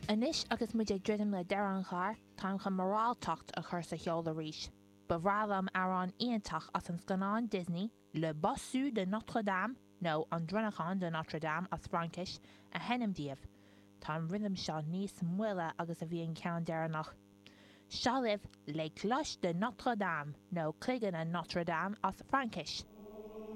Anois agus muid ag druidim le deireadh an chláir, táim chun moráltacht a chur sa cheol arís. Ba bhreá liom amhrán iontach as an scannán Disney, Le Bossu de Notre Dame, nó An Dronnachán de Notre Dame as Fraincis, a sheinm daoibh. Tá an rithim seo níos moille agus a bhí an ceann deireanach. Seo libh Les Cloches de Notre Dame, nó Cloigeanna Notre Dame as Fraincis.